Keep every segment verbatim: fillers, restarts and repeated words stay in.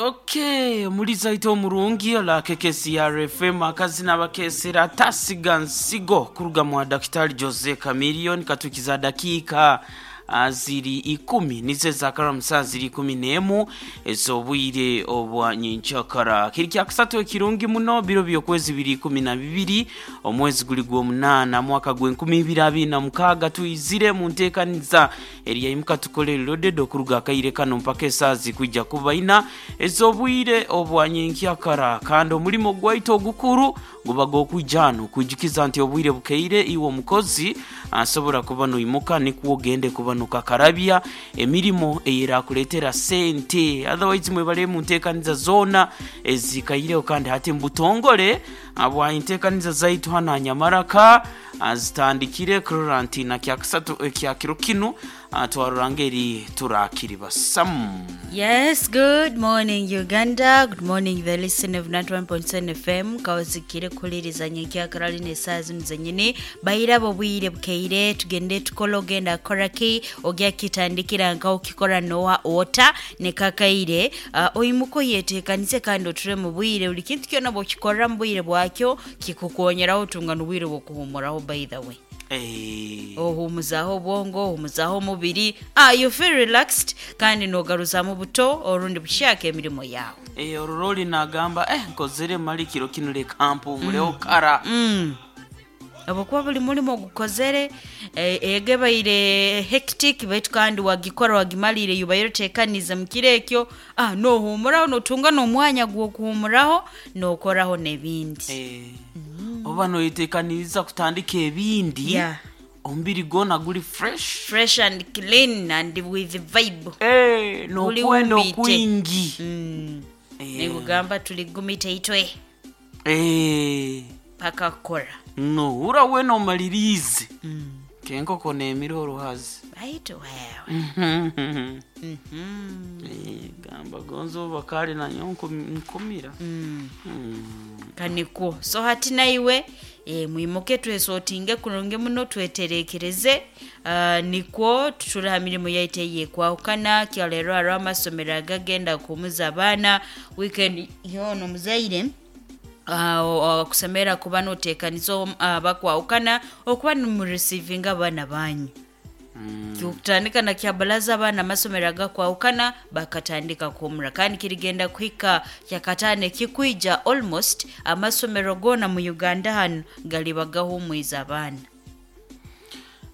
Okay, omuliza ite omurungi ola K K C R F M, akazina bakesera tasiga nsigo kuruga mwa Daktari Jose Chameleone. Katukiza dakiika ah, ziri ikumi nizo ezakara saa ziri ikumi n'emu ez'obwire obwa nyenkyakara, kiri kyakusatu ekirungi muno, biro by'okwezi biri ikumi na bibiri, omwezi guli gw'omunaana, mwaka gw'enkumi ibiri abiri na mukaaga. Tuyizire mu nteekaniza eriyaimuka tukole loaded okuruga akaire kano mpaka esaaha zikwija kuba ina ez'obwire obwa nyenkyakara. Kandi omulimo gwaitu ogukuru guba gw'okwija hano kwijukiza nti obwire bukeire, iwe omukozi asobora kuba noimuka nikwo ogende kuba nokakarabya emirimo eyerakuleetera sente. Otherwise mwebale mu nteekaniza zoona ezikaireho. Kandi hati mubutongole bwa enteekaniza zaitu hano Anyamaraka zitandikire kurora nti na kyakusatu ekya kiro kinu ah, twarora ngeri turakiri basamu. Yes, good morning, Uganda. Good morning, the listener of ninety-one point seven F M. Kawazikire kuliriza nyenkyakara lino esaaha zino zenyini. Bayirabo bwire bukeire, tugende tukole. Ogenda koraki, ogya kitandikira nka okikora nowa ota nekakaire uh, oyimuko yeteekanise kandi oture mu bwire. Buli kintu kyona bw'okikorera mu bwire bwakyo kikukonyeraho otunga n'obwire bw'okuhumuraho, by the way. Eh, ohumuzaho obwongo, ohumuzaho omubiri, ah, you feel relaxed kandi nogaruzamu buto orundi bushaka emirimo yawe. eh, ororoli nagamba, eh, nkozere mali kiro kinu, leka mpumuleho kara. mm. Habwokuba buli mulimo ogukozere eh, egebaire hectic, baitu kandi wagikora wagimalire, yubaire otekanize mu kiro ekyo, ah, nohumuraho notunga n'omwanya gw'okuhumuraho nokoraho n'ebindi. Eh, oba noyetekaniriza kutandika ebindi. Yeah. Omubiri gwona guli fresh. Fresh and clean and with vibe. Eh, Guli nokwenda wumbite. okwingi. mm. Eh. Nikugamba tuligumite itwe Eh, paka kukora. Nohura wena omalirize mm. kenkoko nemira oruhazi. Baitu wewe. Eh, Mhm. gamba gonza obakale nanyo nkum- nkumira. Mm. Mm. Kanikwo so hati naiwe e, mwimuke twesotinge kurungi muno, tweterekereze uh, nikwo tutule ha mirimu yaitu eyekwahukana. Kyaleero hariho amasomero agagenda kuhumuza abaana weekend yoona. Omuzaire uh, okusemera kuba noteekaniza abakwahukana okuba nimureceivinga abaana banyu. Mm. Kutandika na kyabalaza abaana amasomero agakwahukana bakatandika kuhumura, kandi kirigenda kuhika kyakataano ekikwija, almost amasomero goona mu Uganda hano galiba gahumwiza abaana.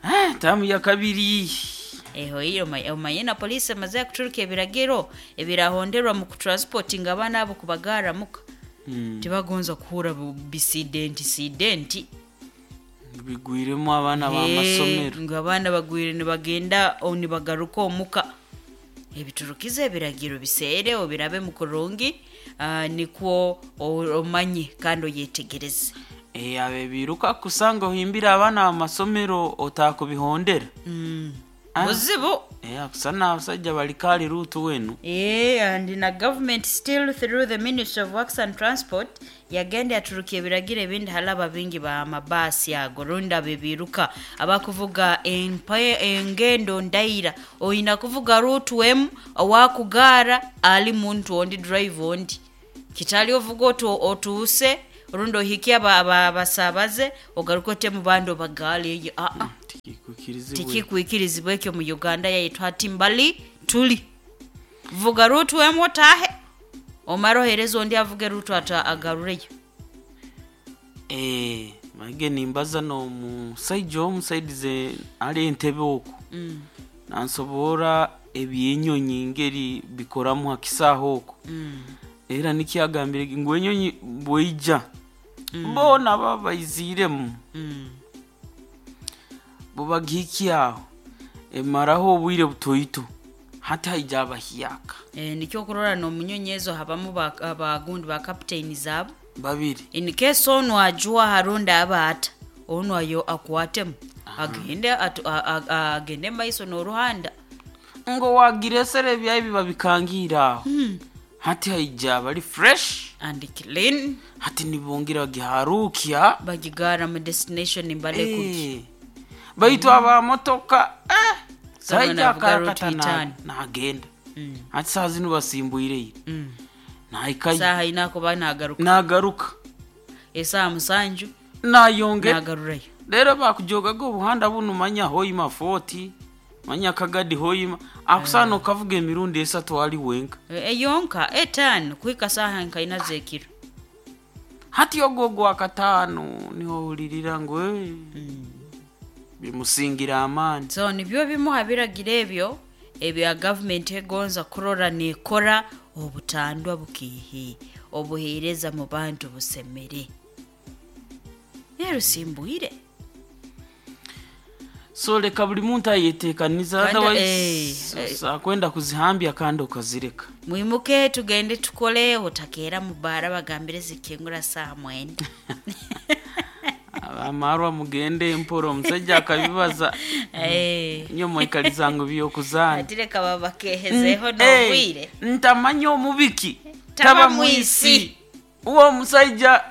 Eh, tamu ya kabiri. Eho iyo omanye omanye na poliisi emaze kuturuka ebiragiro ebirahonderwa mu kutransportinga abaana abo kubagaramuka. Mm. Tibagonza kuhura bu- bisidenti sidenti. Bigwiremu abaana b'amasomero. Ngu abaana bagwire nibagenda o nibagaruka omuka, ebiturukiza ebiragiro biseere obirabe mu kurungi, ah, nikwo o- omanye kandi oyetegereze. Eh, abe biruka kusanga ohimbire abaana b'amasomero otakubihondera. mm. Ah. Buzibu. Eh, akusana abasajja bali kali ruutu wenu. Yeah, and na government still through the Ministry of Works and Transport yagenda yaturuka ebiragiro ebindi halaba bingi ba mabaasi ago rundi abo ebiruka abakuvuga empa- engendo ndaira, oyina kuvuga route emu, owakugaara ali muntu ondi, drive ondi, kitali ovuga otu, otuuse rundi ohike aba- aba- abasabaze ogaruke ote mu bandi obagaale eyo aa. Tikikwikirizibwa. Tikikwikirizibwa ekyo mu Uganda yaitu. Hati mbali tuli vuga route emu otahe, omara ohereza ondi avuge route ata agarureyo. Eh, mange nimbaza n'omusaija omusaidize ali entebe oku mm. nansobora ebyenyonyi ngeri bikoramu ha kisaaho oku. Mm. Era nikyagambire ngu enyonyi bweija boona baba baiziremu. Mm. Bubagihikya aho emaraho obwire butoito, hati haija abahyaka. E, nikyo okurora n'omunyonyi ezo habamu ba- abagundi ba captain zaabo. Babiri. In case onu ajuwa harundi aba ata onu ayo akwatemu agende atu- a- a- a- agende maiso n'oruhanda. Ngo wagiresere ebyayi biba bikangiire aho, hati haija bali fresh and clean. Hati nibongera bagiharukya. Bagigara mu destination mbale kuki. Eh, baitu abamotoka eh, Someone saija avuga route akarakata na- itano. nagenda. Mm. Hati saa zinu basimbuireire. Mm. Nahikayo. Saaha ina kuba nagaruka. Nagaruka. Esaaha musanju nayongera nagarurayo. Rero bakujogaga obuhanda bunu, manya Hoima forty, manya Kagadi Hoima, akusana okavuga emirundi esatu ali wenka. Eyonka etaano kuhika saaha nkaina zekiro. Hati ogwo ogwa kataano niho ohulirira ngu "Eh, bimusingira amaani." So nibyo bimu ha biragiro ebyo ebya gavumenti egonza kurora nekora obutandwa bukiihi, obuheereza mu bantu busemere. Rero simbwire. So leka buli muntu ayetekaniza, Kandi, otherwise eh, eh. sakwenda kuzihambya kandi okazireka. Mwimuke tugende tukole, otakeera mu baara bagambire zikingura saaha mwenda. Abamarwa mugende empora, omusajja akabibaza. Eh, nyo mwikaliza ngu byokuzaana. Ati reka babakehezeho Eh, n'obwire. Ntamanya omubiki taba taba mwisi. mwisi, uwo omusajja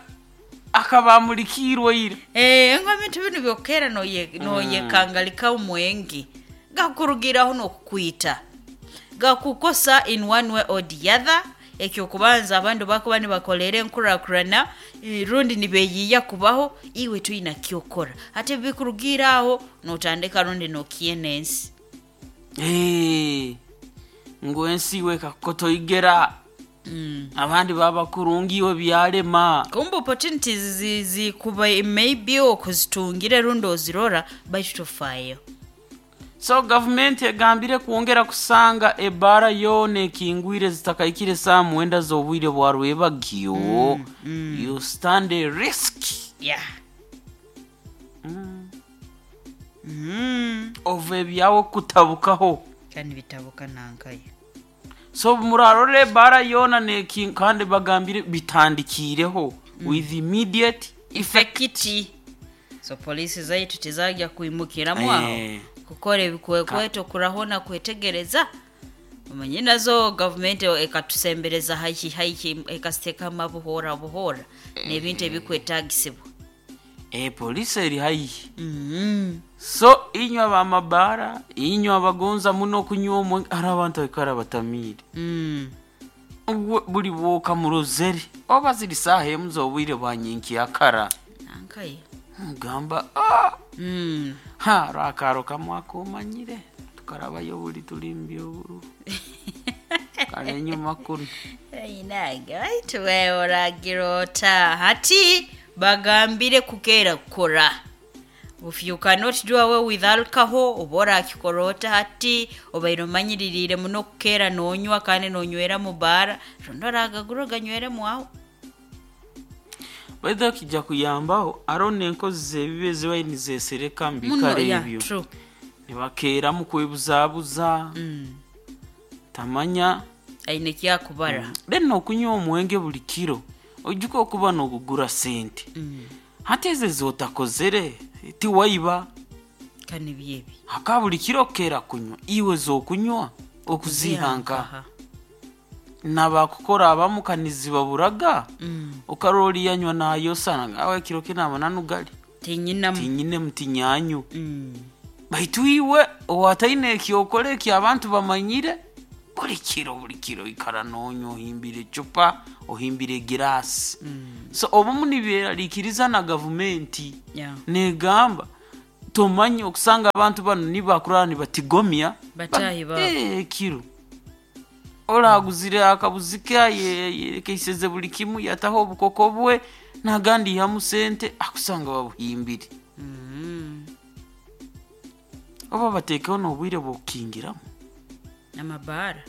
akaba amulikiirwe ira. Eh, ngo ebintu binu byokera noye- noyekangalika omwenge gakurugiraho n'okukwita gakukosa in one way or the other. Ekyokubanza abandu bakuba nibakolera enkurakurana, eh, rundi nibeyiya kubaho iwe tuyina kyokora, ate bikurugira aho notandika rundi nokiena ensi. Eh, ngu ensi iwe kakukotoigera, mm. abandi baba kurungi iwe byalema. Kumbe opportunities zi- zikuba maybe okuzitungire rundi ozirora baitu tofayo. So gavumenti egambire kwongera kusanga ebaara yoona ekingwire zitakaikire saa mwenda z'obwire bwa rwebagyo, you stand a risk Yeah. Mm. of ebyawe kutabukaho. Kandi bitabuka nankayo. So murarora ebaara yoona neki kandi bagambire bitandikiireho with immediate effect. Effect. So polisi zaitu tizajya kwimukiramu aho Eh. kukora ebikwekweto kurahona kwetegereza, omanye nazo gavumenti ekatusembereza haihi haihi ekasitekamu buhora buhora n'ebintu ebikwetagisibwa. Eh, polisi eri haihi. Mm. So inywe abamabaara, inywe abagonza muno okunywa omwenge, hari abantu baikara batamiire. Mm. Ubwo buli bwoka murozere oba ziri saaha emu z'obwire bwa nyinkiyakara, Nankaye. ngamba "Ah, Mm. ha rwakaro kamwe akomanyire tukarabayo buli tulimbya oburu kare enyuma kuno." Inage baitu wewe oragira ota hati bagambire kukera kukora. If you cannot do away with alcohol, oba orakikora ota hati obaire omanyiririire muno kukera nonywa kandi nonywera mu baara, rundi oragagura oganyweremu aho. Baitha kijja kuyambaho aro n'enkozi z'ebibi ezibaire nizesereka mu Muno bikaro yeah, ebyo true. nibakeeramu kwebuzabuza, Mm. tamanya Aine ekyakubara. Then okunywa omwenge buli kiro ojuka okuba n'ogugura sente, Mm. hati ezo zotakozere tiwaiba. Kandi byebi. Haka buli kiro kera kunywa iwe zokunywa okuzihanka Nkaha. nabakukora abamu kanizibaburaga. Mm. Okarora oriyanywa nayosana ngawe ekiro kinama nugali. Tinyinamu. Tinyine mutinyanyu. Mm. Baitu iwe owataine ekyokora eki abantu bamanyire buli kiro buli kiro ikara nonywa, ohimbire ecupa, ohimbire egirasi. Mm. So obumu nibyeraliikiriza na gavumenti Yeah. negamba tomanye okusanga abantu bano nibakurara nibatigomya Batahi Ba- babo. Eh, ekiro oraguzire akabuzi ke yerekeiseze buli kimu, yataho obukoko bwe nagandi ihamu sente akusanga babuhimbire. Mm. Oba batekeho n'obwire bwokukingiramu. Amabaara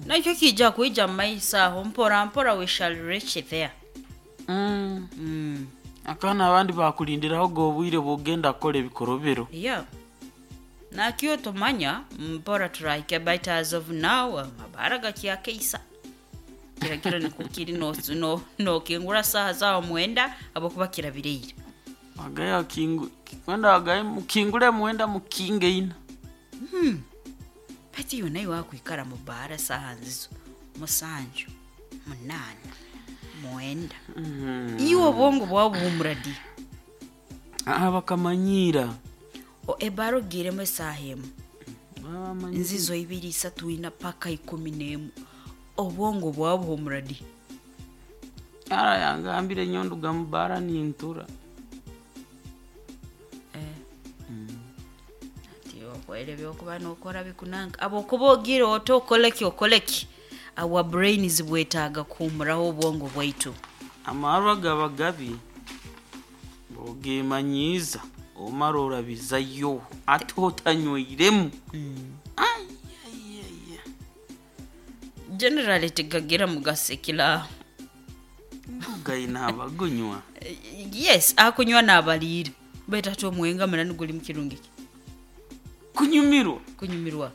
nakyo kijja kwija mumaiso aho mpora mpora, we shall reach there. Mm. Mm. Akaana abandi bakulindiraho ga obwire bwogenda kukora ebikorobero. Yeah, nakyo tumanya mpora turahika, but as of now amabaara gakyakeisa kirakiro nikukiri nokingura no, nokingura saha zawo mwenda abokuba kirabireire. Wagaye wakingu- kwenda wagaye mukingure mwenda mukinge ina. Bati yo nayo wakwikara mu baara saha nzizo musanju munana mwenda, iwe obwongo bwawe buhumura di? Ah, bakamanyira. O ebaara ogiremu esaaha emu, Bamanyira. nzizo ibiri isatu ina paka ikumi n'emu, obwongo bwawe buhumura di? Mukyala yangambire nyo nduga mu bbaara nintura. Ati okoire byokuba nokora bikunanga abokuba ogira oti okoleki okoleki, our brains bwetaaga kuhumuraho obwongo bwaitu. Amarwa gaba gabi, ogemanyiiza omara orabizayo ate otanyweiremu. Ai, ai, ai, ai. Generally tigagira mugasekila. Gaina abagunywa. Yes, akunywa n'abaliire, baitu ate omwenga munani guli mukirungi ki? Kunyumirwa. Kunyumirwa.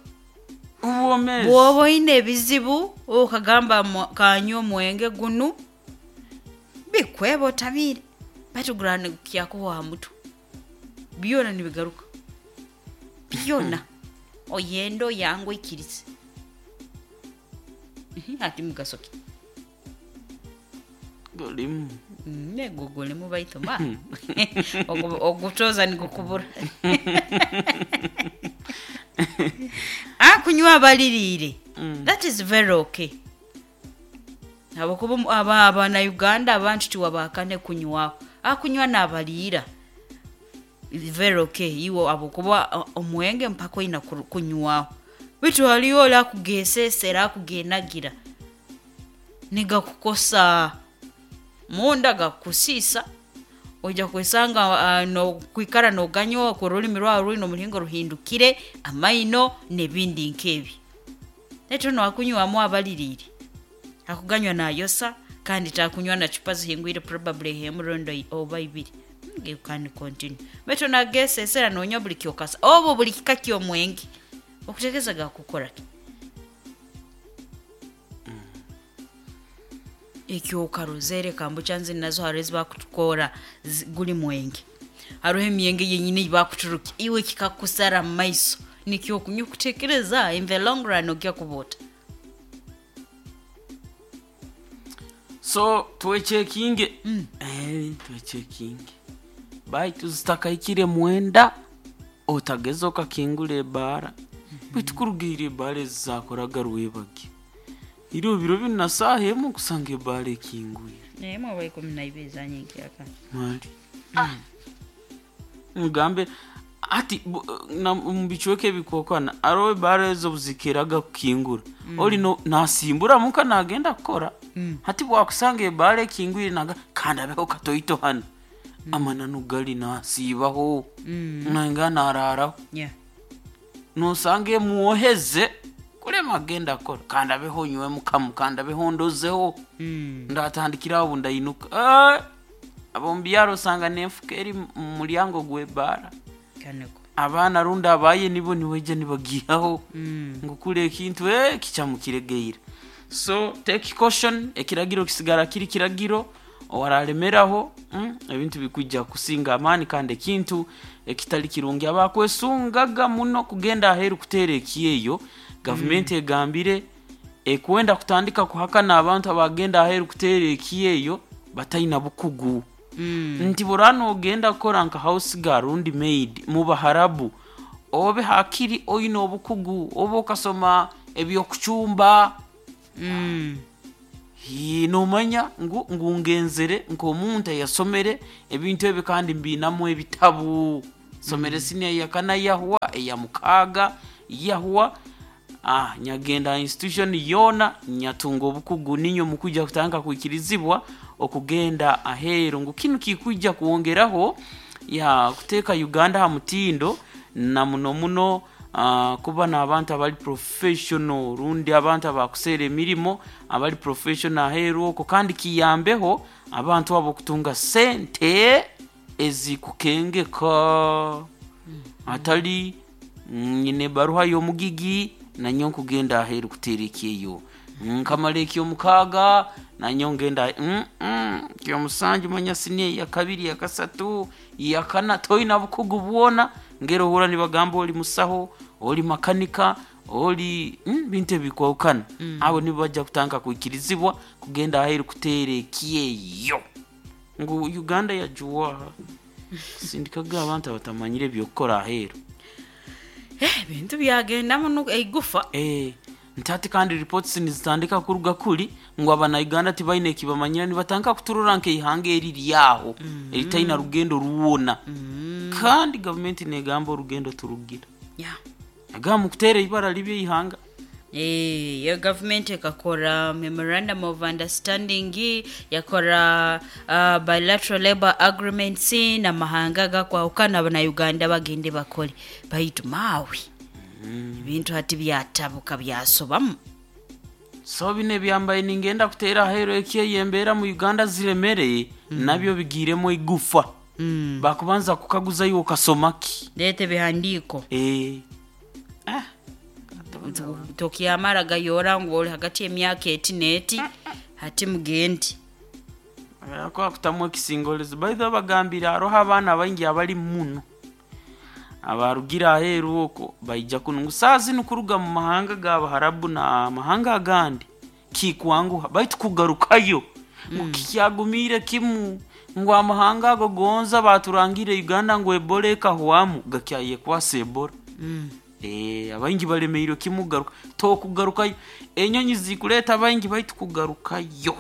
Obwomeezi. Bw'oba oine ebizibu okagamba mwa- kanywa omwenge gunu bikweba otamiire, baitu gurana kyakuhwa aha mutwe, byona nibigaruka byona, oyenda oyanga oikirize. Mhm, ati mugaso ki? Gulimu. Mm, ego gulimu, baitu ma Ogu- ogutoza nigukubura. Akunywa abaliriire, that is very okay, habwokuba aba abanauganda abantu tiwabakane kunywaho. Akunywa n'abaliira, very okay iwe, habwokuba o- omwenge mpaka oina kuru- kunywaho, bitu haliyo oli akugesesera, akugenagira, nigakukosa munda, gakusiisa, ojja kwesanga uh, nokwikara noganywa ku rulimi rwawe rwine omulingo ruhindukire amaino n'ebindi nk'ebi. Netu noakunywamu abaliriire, akuganywa nayosa kandi takunywa na chupa zihingwire, probably hemurondo oba ibiri. Mm, you can continue, baitu nagesesera nonywa buli kyokasa obo buli kika ky'omwenge, okutegeeza gakukora ki ekyokarozere kambucha. Nzi nazo hariho ezibakutukora zi- guli mwenge, hariho emyenge yenyine eibakuturuka iwe kikakusara mu maiso, nikyo okunywa okutekereza in the long run ogya kubota. So twechekinge, eh, twechekinge, baitu zitakahikire mwenda otageza okakingura ebaara, baitu kurugiire ebaara ezi zakoraga rwebage iro biro binu na saaha emu kusanga ebaara ekingwire. Naye oba ikumi na ibiri zanyenkyaka. Mali mugambe ati bu- na- mu bicweka ebikokana aroho ebaara ezo buzikeraga kukingura, oli no- nasimbura muka nagenda kukora. Hati bwakusanga ebaara ekingwire, naga kandi abeho katoito hano, amananu gali nasiibaho nanga nararaho. Yeah. Nosanga emwoheze kulema agenda kukora, kandi abeho nywemu kamu, kandi abeho ndozeho, Mm. ndatandikiraho obu ndainuka. Eh, ab'omubyaro osanga n'enfuka eri mu mulyango gw'ebbaara. Kaneko. Abaana rundi abaye nibo nibaija nibagihaho Mm. ngu kula ekintu eh, kikyamukiregeire. So take caution, ekiragiro kisigara kiri kiragiro, owaralemeraho mm, ebintu bikwijja kusinga amaani kandi ekintu ekitali kirungi abakwesungaga muno kugenda aheeru kuteera ekyeyo. Gavumenti egambire ekwenda kutandika kuhakana abantu abagenda aheeru kuteera ekyeyo bataina bukugu, Mm. nti burano ogenda kukora nka house girl rundi maid mu baharabu, obe hakiri oine obukugu oba okasoma ebyokucumba. Mm. Hii, nomanya ngu ngungenzere nk'omuntu eyasomere ebintu ebyo kandi mbinamu ebitabu, somere siniya yakana yahwa eya mukaaga yahwa, ah, nyagenda institution yona nyatunga obukugu, ninyo mukujja kutandika kwikirizibwa okugenda aheeru, ngu kinu kikwijja kwongeraho ya kuteeka Uganda ha mutindo na muno muno uh, kuba n'abantu abali professional rundi abantu abakuseera emirimo abali professional aheeru okwo, kandi kiyambeho abantu abo okutunga sente ezikukengeka, atali nyine baruha y'omugigi nanyo nkugenda aheeru kuteera ekyeyo, nkamara ekyomukaaga nanyo ngenda mm, mm, kyomusanju manya siniya yakabiri yakasatu yakana toyina bukugu bwona, ngero ohura nibagamba oli musaho, oli makanika, oli mm, bintu ebikwahukana mm. Abo nibo bajja kutandika kwikirizibwa kugenda aheeru kuteera ekyeyo, ngu Uganda yajuwaha sindikaga abantu abatamanyire ebyokukora aheeru. Eh, ebintu byagendamu nu- eigufa. Eh, Nti hati kandi reports nizitandika kuruga kuli ngu abana Uganda tibaine ekibamanyira, nibatandika kuturora nk'eihanga eri ryaho eritaina rugendo rwona, kandi gavumenti negamba orugendo turugira. Yeah. Agamba mukuteera ibara libi eihanga. Eh, yo gavumenti ekakora memorandum of understanding, yakora uh, bilateral labor agreements n'amahanga gakwahukana, na Uganda bagende bakole, baitu maawe ebintu hati byatabuka, byasobamu. So bino ebyambaye ningenda kuteera aheeru ekyeyo, embeera mu Uganda ziremere, nabyo bigiiremu igufa. mm. Bakubanza kukaguzayo, okasomaki? Leeta ebihandiiko. Eh. Ah. Tokyamara gayora ngu oli hagati y'emyaka eti n'eti, hati mugende. Kwa kutamu ekisingolizi baitha bagambire haroho abaana baingi abali muno abarugira aheeru okwo baija kuno, ngu saa zinu kuruga mu mahanga g'Abaharabu na mahanga agandi kikwanguha, baitu kugarukayo ngu kikyagumiire kimu, ngu amahanga ago gonza baturangire Uganda ngu Ebola ekahwamu, gakyayekwasa Ebola. mm. Eh, abaingi balemeirwe kimu kugaruka, tokugarukayo. Enyonyi zikuleeta baingi, baitu kugarukayo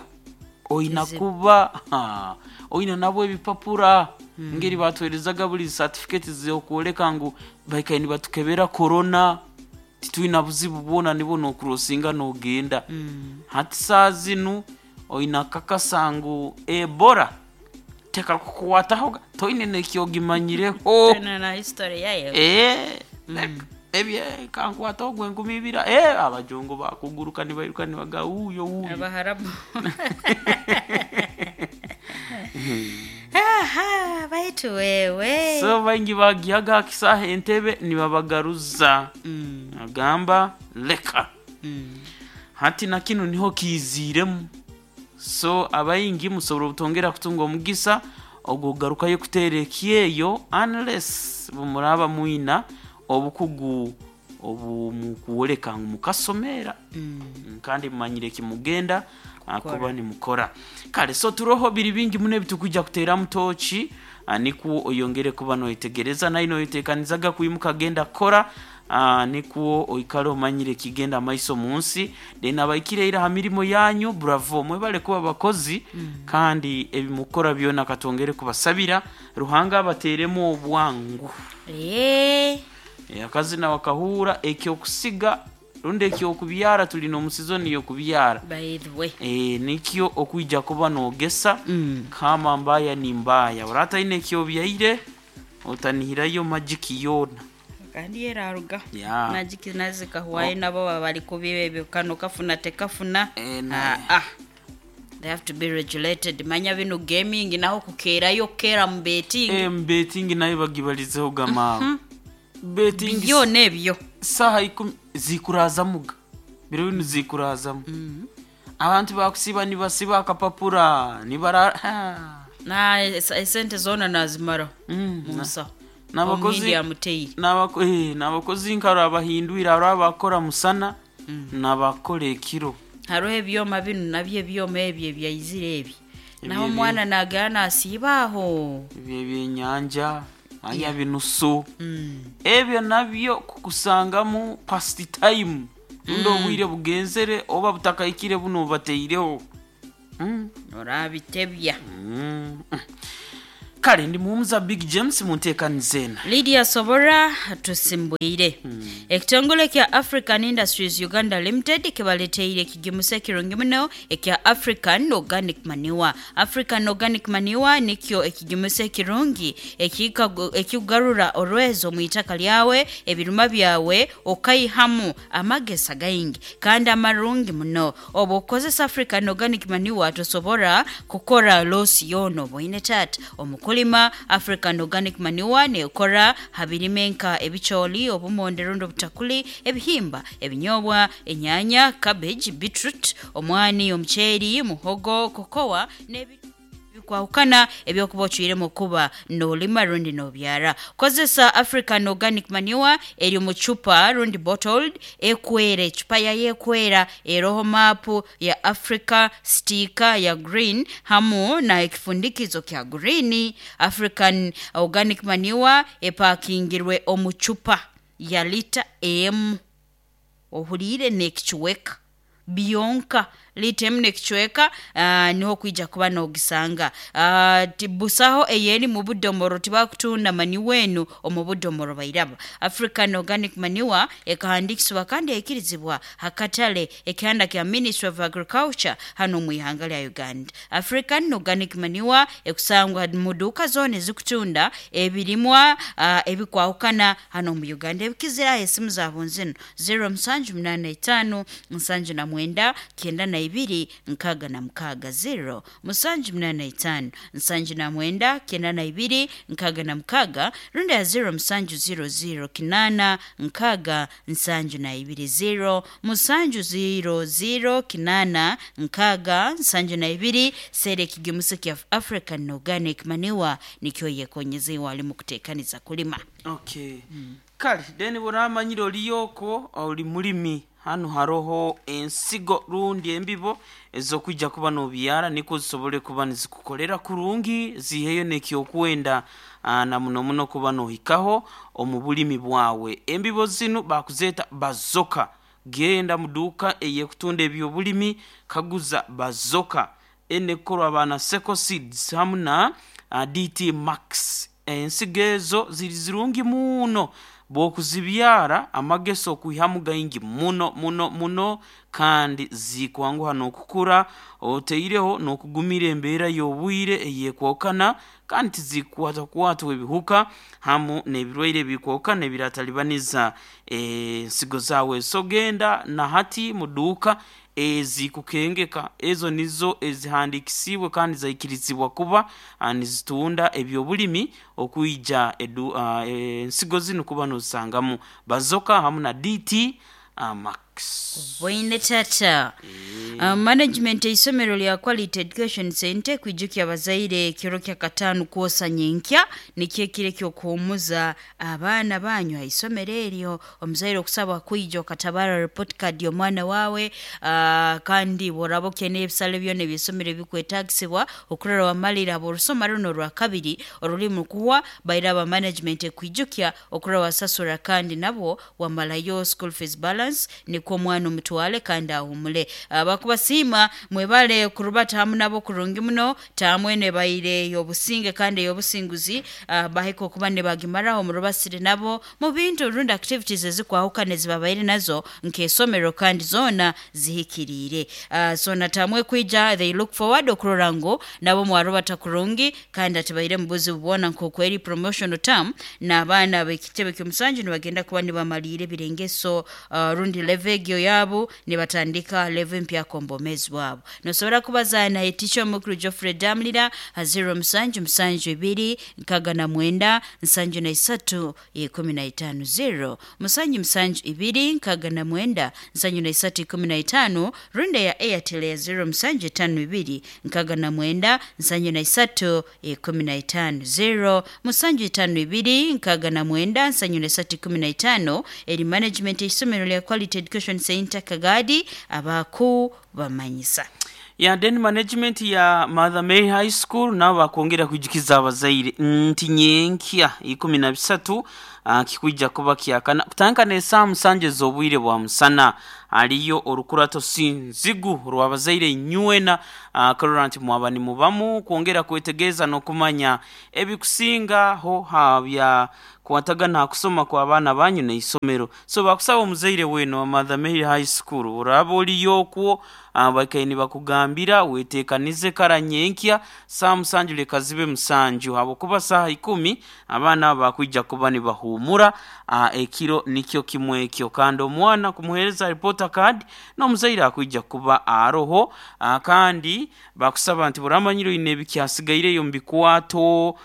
oina Kizibu. kuba ha, oina nabo ebipapura ngeri batwerezaga buli certificate zokwoleka ngu baikaire nibatukebera corona, titwina buzibu bwona, nibo nokurosinga nogenda. Mm. Hati saa zinu oina kakasa ngu Ebola tekakukwataho, toine nekyogimanyireho. Tena na history yayo. Eh, ebye kankwata ogwo enkumi ibiri, eh, abajongo bakuguruka nibairuka nibaga wuuyo wuuyo. Abaharabu. Aha, baitu wewe. So baingi bagihaga akisaha entebe nibabagaruza. mm. Agamba leka. Mm. Hati na kinu niho kiiziiremu, so abaingi musobora obutongera kutunga omugisa ogwogarukayo kuteera ekyeyo unless bumuraba mwina obukugu obumukuwoleka ngu mukasomera. Mm. Mm, kandi mumanyire kimugenda kuba nimukora kale. So turoho biri bingi muno ebitukujja kuteeramu tooki, ah, nikwo oyongere kuba noyetegereza naye noyetekanizaga kwimuka genda kukora, ah, nikwo oikale omanyire kigenda maiso mu nsi. Then abaikire ira ha mirimo yanyu, bravo, mwebale kuba bakozi. Kandi ebimukora byona katwongere kubasabira Ruhanga abateeremu obwangu. Eh. Eh, akazina wakahura ekyokusiga rundi ekyokubyara, tulina omusizoni yokubyara. By the way. E, nikyo okwija kuba nogesa. Mm. Kama mbaya ni mbaya, orataine ekyobyaire otanihirayo magiki yona. Kandi yeraruga. Ya. Najiki nazikahwayo, nabo baba bali kubiba ebyo, kano kafuna tekafuna. Eh, na- Ah, ah. They have to be regulated. Manya bino gaming naho kukerayo kera mu betting. E, betting nayo bagibalizeho gamaawe betting. Byona ebyo. Saha ikumi zikurazamuga, biro binu zikurazamu, abantu bakusiba nibasiba akapapura nibara ha. Na es- esente zona nazimara Mm, mu nsaho. N'abakozi- Omuhindi yamuteire. N'abako- eh, n'abakozi nkaro abahindwire, hariho abakora musana n'abakora ekiro. Hariho ebyoma bino nabyo, ebyoma ebyo ebyaizire ebi naho Ebyo- omwana nagera nasiiba aho. Ebyo ebyenyanja anya binusu. Mm. Ebyo nabyo kukusangamu past time rundi obwire bugenzere oba butakahikire buno bubateireho. Mm. Orabitebya. Mm. Kale ndi muhumuza Big James munteekanizeena. Lydia Sobora tusimbwire. Ekitongole kya African Industries Uganda Limited kibaleteire ekigimusa ekirungi muno ekya African Organic Manure. African Organic Manure nikyo ekigimusa ekirungi ekikagu- ekikugarura orwezo mu itaka lyawe, ebiruma byawe okaihamu amagesa gaingi kandi amarungi muno. Obu okozesa African Organic Manure tosobora kukora losi yono boine tata omukulima. African Organic Manure nekora habirime nka ebicholi, obumonde rundi obutakuli, ebihimba, ebinyobwa, enyanya, cabbage, beetroot, omwani, omuceeri, muhogo, kokowa n'ebi bikwahukana ebyokuba ocwiremu kuba nolima rundi nobyara. Kozesa African Organic Manure eri mu cupa rundi bottled ekwera, ecupa yayo ekwera, eroho maapu ya Africa, stika ya green hamu na ekifundikizo kya green. African Organic Manure epakingirwe omu cupa ya lita emu. Ohuliire n'ekichweka byonka lita emu n'ekicweka uh, niho kwija kuba nogisanga. uh, Busaho eyeri mu budomoro, tibakutunda manure enu omu budomoro bairaba. African Organic Manure ekahandikisibwa kandi eikirizibwa hakatale ekihanda kya Ministry of Agriculture hano mu ihanga lya Uganda. African Organic Manure ekusangwa mu duka zona ezikutunda ebirimwa uh, ebikwahukana hano mu Uganda. Ebikizira esimu zabo nzino zero musanju munana itano nsanju na mwenda kenda na ibiri nkaga na mukaga, zero musanju munana itano nsanju na mwenda kenda na ibiri nkaga na mukaga, runda ya zero musanju zero zero kinana nkaga nsanju na ibiri, zero musanju zero zero kinana nkaga nsanju na ibiri. Sere ekigimuso kya African Organic Manure nikyo yekonyeze walimu kutekaniza kulima. Okay. mm. Kale then buramanyire oliyoko oli mulimi, hano haroho ensigo rundi embibo ezokwijja kuba nobyara niko zisobole kuba nizikukolera kurungi, ziheyo nekyokwenda na muno muno kuba nohikaho omu bulimi bwawe. Embibo zinu bakuzeta bazoka. Genda muduka eyekutunda ebyobulimi kaguza bazoka enekorwa abana Seco Seeds hamu na uh, D T Max. Ensigo ezo ziri zirungi muno bwokuzibyara, amageso okwihamu gaingi muno muno muno, kandi zikwanguha n'okukura oteireho n'okugumira embeera y'obwire eyekwokana, kandi tizikwatakwatwa ebihuka hamu n'ebirwaire ebikwokana ebiratalibaniza ensigo zawe. So genda na hati muduuka ezikukengeka, ezo nizo ezihandikisibwe kandi zaikirizibwa kuba nizitunda ebyobulimi okuija edu, uh, ensigo zino kuba nozisangamu bazoka hamu na D T uh, Max. Bwine tata. E. Uh, management eisomero lya Quality Education Center kwijukya abazaire kiro kya katano kwosa nyenkya nikyo ekiro ky'okuhumuza abaana banyu aisomero eryo. Omuzaire okusaba kwija okatabara report card y'omwana wawe, uh, kandi boraba okyene ebisale byona eby'eisomero ebikwetagisibwa okurora wamalira aborusoma runo rwa kabiri orulimu kuwa baira aba management ekwijukya okurora wasasura kandi nabo wamalayo school fees balance niko omwana omutwale kandi ahumule. Abakubasiima mwebale kurubata hamu nabo kurungi muno tamwene baire yobusinge kandi yobusinguzi, uh, bahiko okuba ne bagimaraho murubasire nabo mu bintu runda activities ezikwahukana ezibabaire nazo nk'esomero kandi zona zihikiriire. Uh, so natamwe kwija they look forward okurora ngo nabo mwarubata kurungi kandi atibaire mubuzi bubona nkokweri promotional term n'abaana b'ekitebe ky'omusanju nibagenda kuba nibamalire ebirengeso uh, rundi level egyo yabo nibatandika level mpya kombomezi wabo. Nosobora kubaza na teacher mukuru Geoffrey Damlira ha zero musanju musanju ibiri nkaga na mwenda nsanju na isatu ikumi na itano, zero musanju musanju ibiri nkaga na mwenda nsanju na isatu ikumi na itano, runda ya Airtel ya zero musanju itano ibiri nkaga na mwenda nsanju na isatu ikumi na itano, zero musanju itano ibiri nkaga na mwenda nsanju na isatu ikumi na itano. Eri management isomero lya Quality Education Center Kagadi abaku bamanyisa ya then management ya Mother Mary High School nabo bakongera kwijukiza abazaire nti nyenkya ikumi na bisatu uh, kikwijja kuba kyakana kutandika n'esaaha musanju ez'obwire bwa musana aliyo orukurato sinzigu rw'abazaire nywena uh, karora nti mwaba nimubamu kwongera kwetegeeza n'okumanya ebikusingaho habya kwatagana kusoma kwa abaana banyu n'eisomero. So bakusaba omuzaire weno wa Mother Mary High School oraba oliyo okwo abakaini bakugambira wetekanize kara nyenkya saa musanju leka zibe musanju habwokuba saaha ikumi abaana bakwijja kuba nibahumura ekiro nikyo kimwe ekyo, kandi omwana kumuhereza report card n'omuzaire akwijja kuba aroho. Kandi bakusaba nti buramanyiro ine ebikyasigaireyo mu bikwato,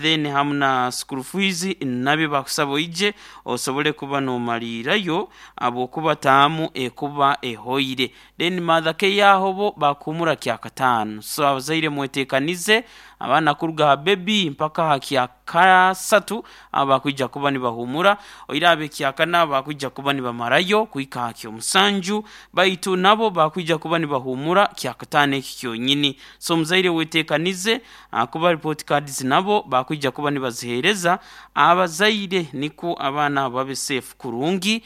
then hamu na school fees nabyo bakusaba oije osobole kuba nomalirayo habwokuba taamu ekuba ehoire. Then Mother K yaho bo bakumura kyakatano. So abazaire mwetekanize abaana kuruga ha baby mpaka ha kyakasatu abakwijja kuba nibahumura oirabe kyakana bakwijja kuba nibamarayo kuhika ha kyomusanju. musanju, baitu nabo bakwija kuba nibahumura kyakataano eki kyonyini. So omuzaire weteekanize kuba report cards nabo bakwija kuba nibaziheereza abazaire, niko abaana babe safe kurungi,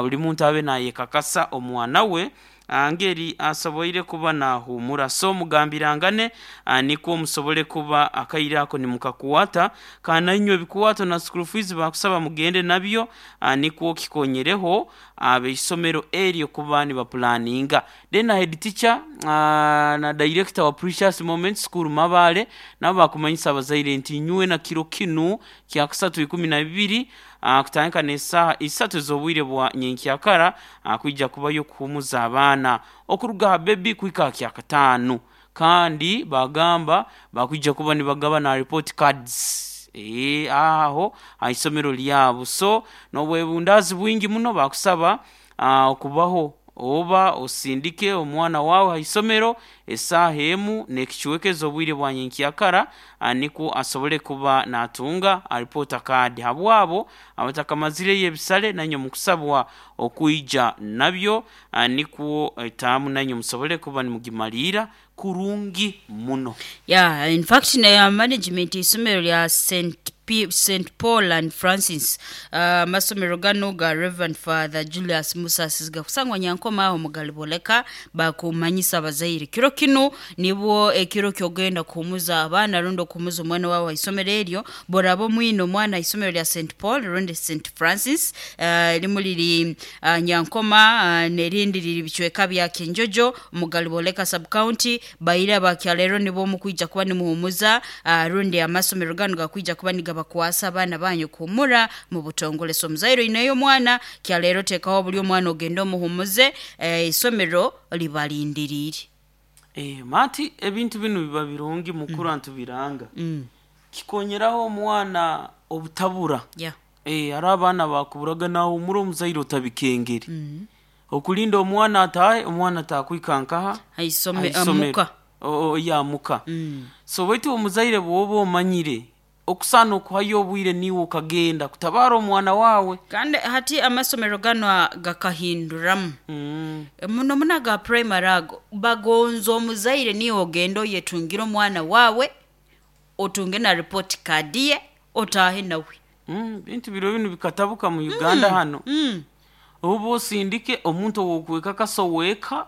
buli muntu abe nayekakasa omwana we ngeri asoboire kuba nahumura. So mugambirangane niko musobole kuba akaire ako nimukakuwata, kandi nainywe ebikuwato na school fees bakusaba mugende nabyo, niko kikonyereho abeisomero eryo kuba nibapulaninga. Then head teacher na director wa Precious Moment School Mabale nabo bakumanyisa abazaire nti nywe na kiro kinu kya kusatu ikumi na bibiri kutandika n'esaaha isatu ez'obwire bwa nyenkyakara kwija kubayo kuhumuza abaana okuruga ha baby kuhika kya kataano, kandi bagamba bakwija kuba nibagaba na report cards e, aho ha isomero lyabo. So n'obwebundazi bwingi muno bakusaba okubaho oba osindike omwana wawe ha isomero esaaha emu n'ekichwekezo obwire bwa nyenkyakara niko asobole kuba natunga report card. Habwabo abatakamazireyo ebisale nanywe mukusabwa okuija nabyo niko etaamu nanywe musobole kuba nimugimaliira kurungi muno. Yeah, in fact na management isomero lya Saint P, Saint Paul and Francis uh, masomero gano ga Reverend Father Julius Musasizi gakusangwa Nyankoma aho mugaliboleka bakumanyisa abazaire kiro kino nibwo ekiro kyogenda kuhumuza abaana rundi okuhumuza omwana wawe isomero eryo borabo mwino omwana isomero lya Saint Paul rundi Saint Francis uh, limu liri uh, Nyankoma uh, nerindi liri bicweka bya Kinjojo mugaliboleka sub county baira bakyalero nibo mukwija kuba nimuhumuza uh, rundi amasomero gano gakwija kuba nigaba bakwasa abaana banyu kuhumura mu butongole. So muzaire inayo mwana kyalero tekaho buli omwana ogenda omuhumuze eh, isomero libalindirire. Eh, mati ebintu bino biba birungi mukuru mm. Ntubiranga mm. Kikonyeraho omwana obutabura. Yeah. Eh, ari abaana bakuburaga naho umuri omuzaire otabikengeri mm. Okulinda omwana atahe omwana atakwikankaha aisome amuka o yamuka mm. So baitu omuzaire bwoba omanyire okusana okuhayo obwire niwe ukagenda kutabara omwana wawe. Kandi hati amasomero gano gakahinduramu mm. Muno muno ga primary ago bagonzo omuzaire niwe ogenda oyetungira omwana wawe otunge na report card ye otahe nawe. Mm, bintu biro bino bikatabuka mu Uganda mm. Hano mm. Obo osindike omuntu wokweka kasoweka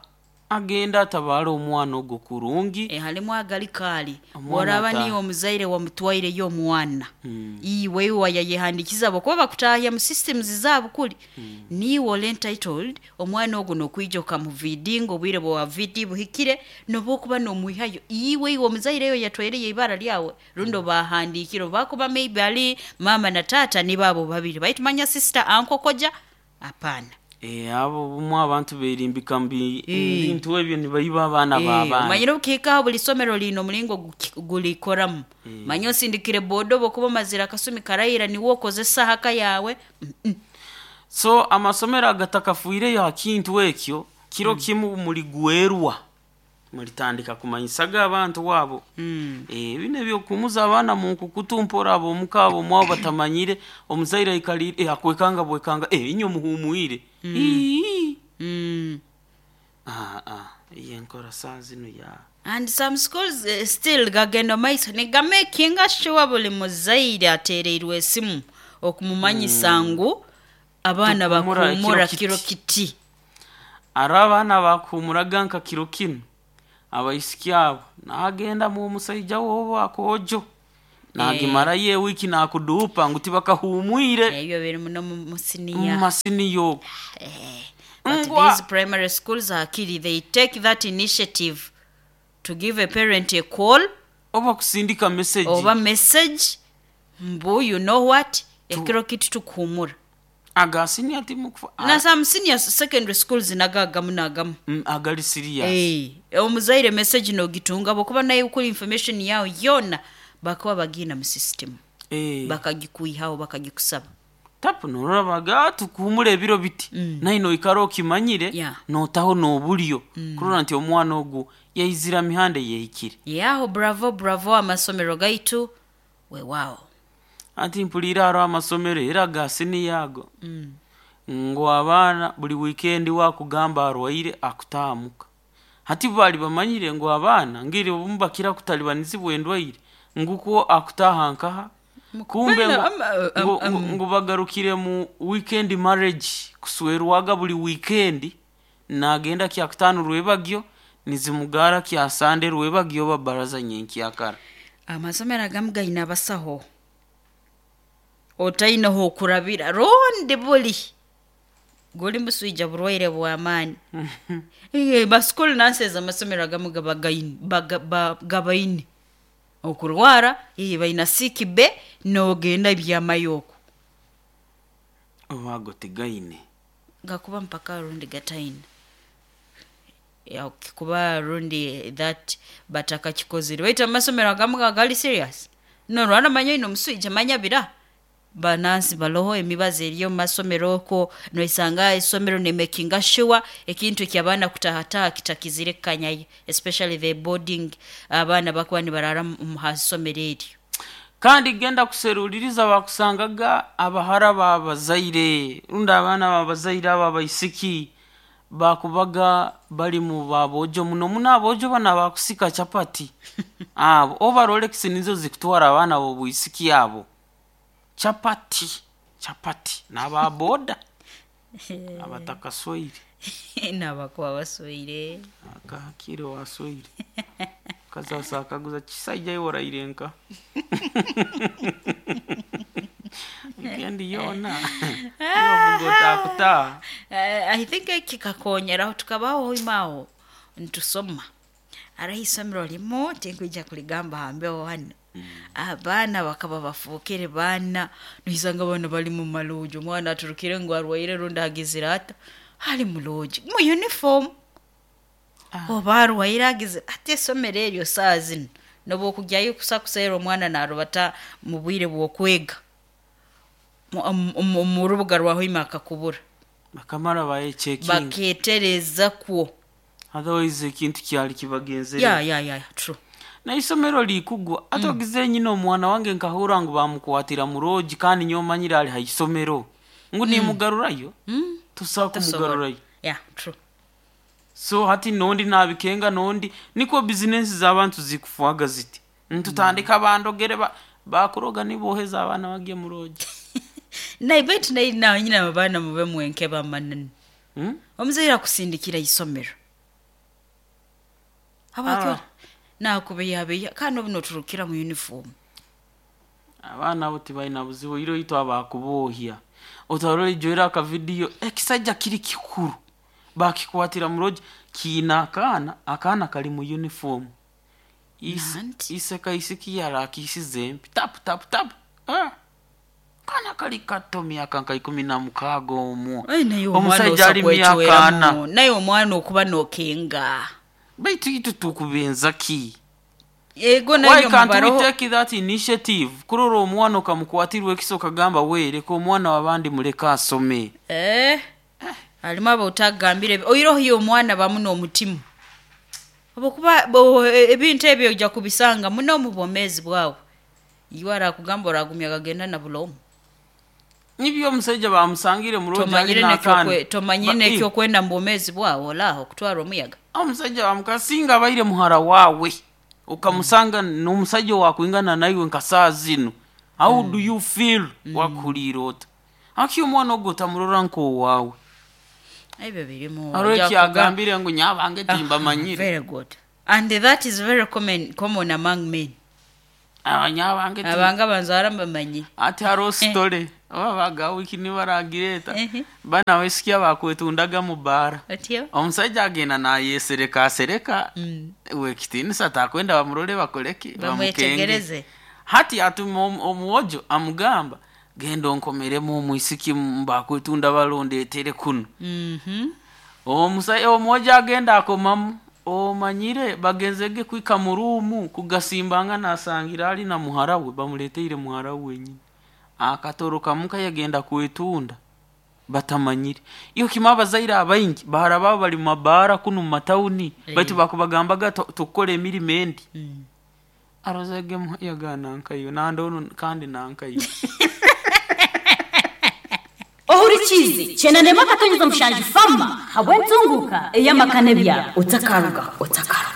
agenda atabara omwana ogwo kurungi. E, halimu agali kali boraba niyo omuzaire wamutwaire yo omwana mm. Iwe wayayehandikiza bokuba bakutahya mu systems zabo kuli mm. Niwe entitled omwana ogwo nokwija okamuvidingo obwire bwa V D buhikire nobokuba nomwihayo iwe iwe omuzaire yo yatwaire ibara lyawe rundo mm. Bahandikiro bakuba maybe ali mama na tata ni babo babiri baitu manya sister anko koja apana. Eh, abo bumwe abantu berimbika mbi bintu ebyo nibayiba abaana b'abaana. Manyire ukika buli somero lino mulingo gulikoramu. Manyo sindikire bodo bokuba mazira kasumi karayira ni wokozesa haka yawe. Mm -mm. So amasomero agatakafuire ya kintu ekyo kiro mm. Kimu muligwerwa mulitandika kumanyisaga abantu wabo. Mm. Eh, bino ebyokumuza abaana mu nkukutumpora abo mukabo mwabo batamanyire omuzaire aikalire eh, akwekanga bwekanga eh, inyo muhumuire. Mm. Ii. Mm. Ah ah yenkora saa zino ya And some schools uh, still gagenda maiso nigamakinga sure buli muzaire atereirwe esimu okumumanyisa ngu abaana bakuhumura kiro kiti. Ari abaana bakuhumuraga nka kiro kinu abaisiki abo nagenda mu musaija wobo akojo nagimara ye wiki nakudupa ngu tibakahumwire. Ebyo biri muno mu senior mu senior. Eh, but these primary schools are kiri they take that initiative to give a parent a call oba kusindika message oba message mbu you know what ekiro kiti tukuhumura aga senior timukufa na some senior secondary schools nagagamu nagamu mm, agali serious eh omuzaire message no gitunga bokuba naye ukuri information yao yona bakuba bagina mu system eh bakagikuihaho bakagikusaba tapu norabaga tukuhumura ebiro biti mm. Naino ikaro kimanyire yeah. Notaho nobulyo mm. Kurora nti omwana ogu yaizira mihande yehikire yaho. Bravo bravo amasomero gaitu we wow Anti mpulira aro amasomero era ga senior ago mm. Ngu abaana buli weekend wakugamba arwaire akutaamuka. Hati bali bamanyire ngu abaana ngiri obumu bakira kutalibanizibwa endwaire nguko akutaha nkaha kumbe Bana, ngu, ama- am- ngu, am- ngu, ngu bagarukire mu weekend marriage kuswerwaga buli weekend nagenda kyakutano rwebagyo nizimugara kya sande rwebagyo babaraza nyenkyakara. Amasomero agamu gaine abasaho otaineho okurabira rundi buli guli muswija burwaire bw'amaani. Iye, baschool nurses amasomero agamu gaba gaine baga- ba- gabaine okurwara, iye baina sick bay nogenda byamayo okwo. Obago tigaine Gakuba mpaka rundi gataine Ya, kikuba rundi that batakakikozire baitu amasomero agamu gagali serious norwara manya ino omuswija manya bira banansi baloho emibazi eriyo mu masomero okwo noisanga isomero nemakinga sure ekintu ekyabaana kutahataha kitakizire kukanyayo, especially the boarding abaana bakuba nibarara mu mu hasomero eryo. Kandi genda kuseruliriza bakusangaga abahara babazaire rundi abaana babazaire abo abaisiki bakubaga bali mu babojo muno muno abojo bana bakusika chapati abo oba Rolex nizo zikutwara abaana b'obwisiki abo chapati chapati n'ababoda abatakaswaire nabakuba baswaire akakiro waswaire kazasa akaguza kisaija iworaire nka weekend yona nibavuga otakutaha. Eh, I think kikakonyeraho tukabaho imaho ntusoma araho isomero limu tinkwija kuligamba hambeho hano abaana bakaba bafuukire baana noisanga abaana bali mu maloji omwana aturukire ngu arwaire rundi agizire ata ali muloji mu uniform oba arwaire agizire ate isomero eryo saa zino noba okugyayo kusa kuseera omwana narubata mu bwire bw'okwega Mu- mu mu rubuga rwaho ima akakubura bakamara baye checking baketereza kwo otherwise ekintu kyali kibagenzere ya ya ya true. Na isomero likugwa ate ogize nyina omwana wange nkahura ngu bamukwatira mu roji kandi nyowe manyire ali ha isomero ngu nimugarurayo Mm. tusobola kumugarurayo. Yeah, true. So hati nondi nabikenga nondi niko bizinesi z'abantu zikufuaga ziti ntutandika bandogere ba bakuroga niboheza abaana bagiye mu roji. Naye baitu naye nawe nyina abaana mube mwenke bamanani Hmm? omuzaire akusindikira isomero habwaki Ah. nakubeyabeya kandi obu noturukira mu uniform. Abaana abo tibalina buzibu iro itu abakubohya otarora ijoera akavidiyo ekisajja kiri kikuru bakikwatira mu roji kiina akaana akaana kali mu uniform. Ise- Nanti. ise kaisiki yarakisize empi tapu tapu tapu ah. Kaana kali kato myaka nka ikumi na mukaaga omwo Ai, naye omwana omusajja ali myaka ana osakwecweramu naye omwana okuba nokenga baitu itu tukubenza ki ego why naye can't we mubaroho take that initiative kurora omwana okamukwatirwa ekiso okagamba we reka omwana wabandi muleke asome. Eh, alimu abo otagambire oiroho yo omwana bamu n'omutima obukuba bo- ebintu ebyo ojja kubisanga muno mu bwomeezi bwawe iwe arakugamba oragumya gagenda na bulomu. Nibyo omusajja bamusangire mu roji tomanyire alina akaana nekyokwe- tomanyire Ba- eh, nekyokwenda mu bwomeezi bwawe olaaho okutwara omuyaga. Omusajja bamukasinga abaire muhara waawe okamusanga n'omusajja wakwingana naiwe nka saa zino how do you feel wakuhuriire ota aki omwana ogwo otamurora nk'owaawe. Ebyo birimu hariho ojja kugamba- ekyagambire ngu nyabange timbamanyire. Very good, and that is very common, common among men. Aba nyabange ti- Abanga banzaara mbamanyi. Ati hariho sitore oba bagawiki nibaragireta Ehe. bana wesikia bakwetundaga mu baara otyo omusajja agenda nayesereka asereka Mm. wekitinisa takwenda bamurole bakoleki Bamwetegereze. Hati atuma omu- omuwojo amugamba genda onkomeremu omwisiki bakwetunda balondetere kuno. Mhm. Omusajja omuwojo agenda akomamu omanyire bagenzege kwika mu ruumu kugasimbanga nasangira ali na muhara we bamuleteire muhara we wenyini akatoroka muka yagenda kwetunda batamanyire iyo kima abazaire abaingi bahara babo bali mu mabaara kunu mu matawuni Eh. baitu bakubagambaga "Tu- tukukora emirimo endi Mm. arozege yaga nankayo nandono kandi nankayo. Ohurikize. Ohurikize kyenda n'emwe akatonyeza mushanju fama habw'entunguka ey'amaka n'ebyaro. Otakaruga, otakaruga.